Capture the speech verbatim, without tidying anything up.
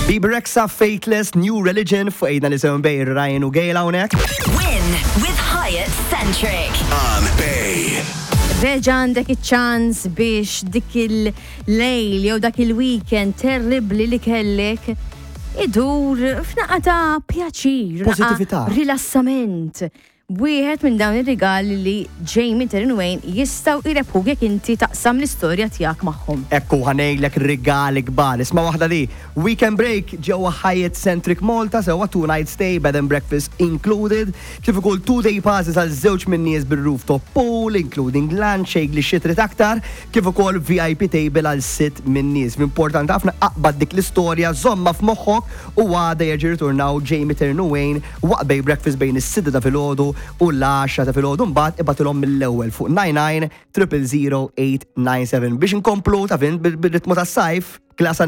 Bebe Rexha, Faithless, New Religion, fuq għidna li sewn bej Ryan u Gail hawnhekk. Win with Hyatt Centric. On Bay. Reġa għandek iċ-ċans biex dik il-lejl jew dak il-weekend terribli li kellek idur f'naqra ta' pjaċir, naqa Positività. Rilassament. Wieħed minn dawn ir-rigali li Jamie Terry Wayne jistgħu jrebħu jekk inti taqsam l-istorja tiegħek magħhom. Ekku ħa ngħidlek rigali kbar. Isma' waħda li Weekend Break ġewwa Hyatt Centric Malta, sewa two night stay, bed and breakfast included. Kif ukoll two day passes għal żewġ minn nies bil-rooftop pool, including lunch, shake li xi trid aktar, kif ukoll V I P table għal sitt minn nies. Importanti ħafna, aqbad dik l-istorja, żomma f'moħħok u għada jerġgħu ritornaw Jamie Turn Wayne waqt Bay Breakfast bejn is-sitta ta' filgħodu u l-għaxra ta' filgħodu. Mbagħad ibgħatilhom mill-ewwel fuq nine nine triple zero eight nine seven biex inkomplu ta' fin bil-ritmu tas-sajf klasa.